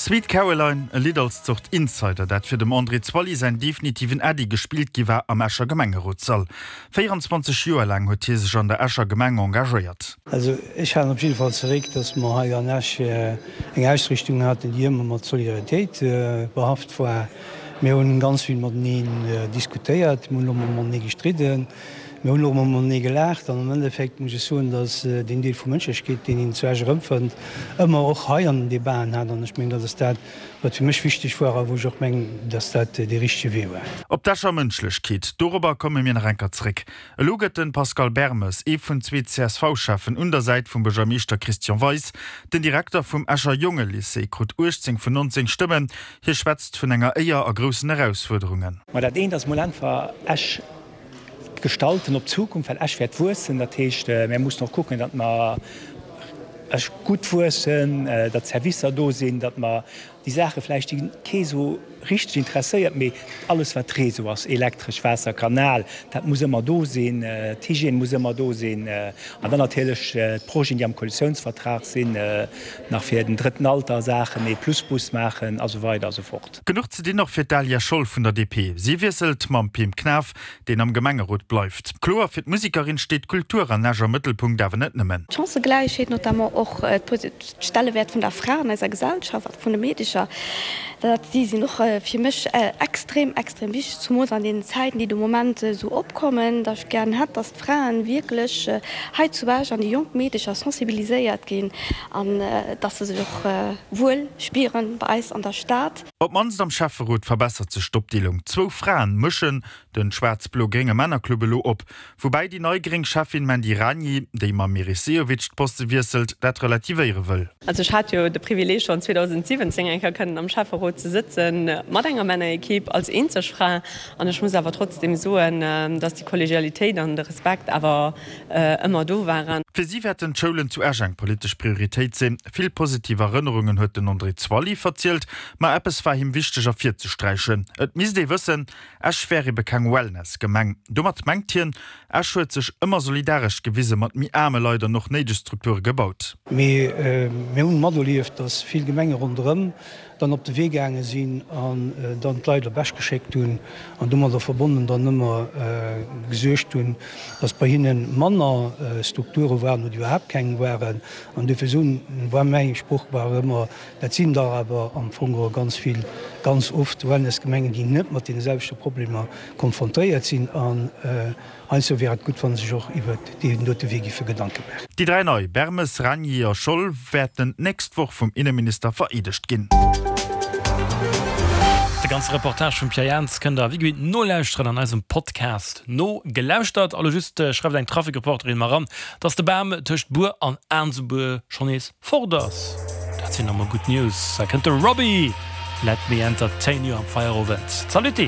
Sweet Caroline, e Lidd als Zort Insider, dat fir dem André Zwally säin definitiven Äddi gespillt gi war am Escher Gemengerotssall. 24 Joer laang huet hie sech an der Escher Gemeng engagéiert. Also ech halen op jidde Fall zeréck, datt mer hei an Esch eng Ausrichtung haten, déi ëmmer mat Solidaritéit behaft war. Mir hunn ganz vill mateneen diskutéiert, mir hunn och mol matenee gestridden, mir hunn och mol matenee gelaacht an am Endeffekt muss ech soen, datt deen Deel vu Mënschlechkeet, deen een zu Esch erëmfënnt, ëmmer och hei an den Debaten hat an ech mengen, dat ass dat, wat fir mech wichteg war a wou ech och mengen, datt dat dee richtege Wee war. Op d'Escher Mënschlechkeet, dorobber komme mir nach enker zréck. Elo gëtt de Pascal Bermes, ee vun zwee CSV-Cheffen un der Säit vum Buergermeeschter Christian Weis. Den Direkter vum Escher Jongelycée krut 18 vun 19 Stëmmen. Hie schwätzt vun enger Éier a groussen Erausfuerderungen. Ma dat eent ass mol einfach Esch gestalten op d'Zukunft, well Esch wäert wuessen. Dat heescht, mär mussen och kucken, datt mer Esch gutt wuessen, datt d'Servicer do sinn, datt mer déi Saache vläicht, déi kee sou richteg interesséiert, mee alles wat Réseau ass, Elektresch, Waasser, Kanal, dat muss ëmmer do sinn, d'Hygiène muss ëmmer do sinn an dann natierlech d'Projeten, déi am Koalitiounsvertrag sinn, nach fir den drëtten Alter Saachen, ee Plusbus maachen a sou weider a sou fort. Genuch ze dinn och fir d'Alia Scholl vun der DP. Si wiesselt mam Pim Knaff, deen am Gemengerot bleift. Kloer, fir d'Musekerin steet d'Kultur an Esch am Mëttelpunkt, awer net nëmmen. D'Chancëgläichheet, notamment och d'Stellewäert vun der Fra an eiser Gesellschaft a vun de Meedecher, dat déi sinn och fir mech extrem, extrem wichteg, zumools an deenen Zäiten, déi de Moment esou opkommen, datt ech gären hätt, datt d'Fraen wierklech hei zu Esch an déi jonk Meedecher sensibiliséiert ginn an datt se sech och wuel spieren bei eis an der Stad. Op d'mannst am Schäfferot verbessert sech d'Opdeelung. Zwou Fraen mëschen den schwaarz-blo-grénge Männerclub elo op. Woubäi déi nei gréng Schäffin Mandy Ragni, déi mam Meris Sehovic d'Poste wiesselt, dat relativéiere wëll. Also ech hat jo de Privileeg schonn 2017 eng Kéier kënnen am Schäfferot ze sëtzen, mat enger Männerequipe, als eenzeg Fra. An ech muss awer trotzdem soen, dass déi Kollegialitéit an de Respekt awer ëmmer do waren. Fir si wäerten d'Schoulen zu Esch eng politesch Prioritéit sinn. Vill positiv Erënnerungen huet den André Zwally verzielt, ma eppes war him wichteg ervirzesträichen, Et misst ee wëssen, Esch wär ebe keng Wellness-Gemeng. Domat mengt hien, Esch huet sech ëmmer solidaresch gewise mat méi aarme Leit an och néideg Strukture gebaut. Mee mir hunn materlieft, dass vill Gemenge ronderëm dann op de Wee gaange sinn an dann d'Leit op Esch geschéckt hunn an domadder verbonnen dann ëmmer gesuergt hunn, dass bei hinne manner Strukture waren oder iwwerhaapt keng waren. An dofir soen, war mäi Sproch war ëmmer, dat sinn der awer am Fong geholl ganz vill, ganz oft Wellnessgemengen, déi net mat deene selwechte Problemer konfrontéiert sinn. An Heizou wär et gutt, wa sech och iwwert deen dote Wee giffe Gedanke maachen. Déi 3 nei, Bermes, Ragni a Scholl, wäerten d'nächst Woch vum Inneminister vereedegt ginn. De ganze Reportage vum Pierre Jans kënnt der wéi gewinnt nolauschteren an eisem Podcast Nogelauschtert. Elo just schreift eng Trafikreporterin mer eran, dass de Bam tëscht Bur an Aansebuer schonn nees Fort ass! Dat sinn emol gutt News. Da kënnt de Robbie, Let me entertain you am Feierowend. Zalutty!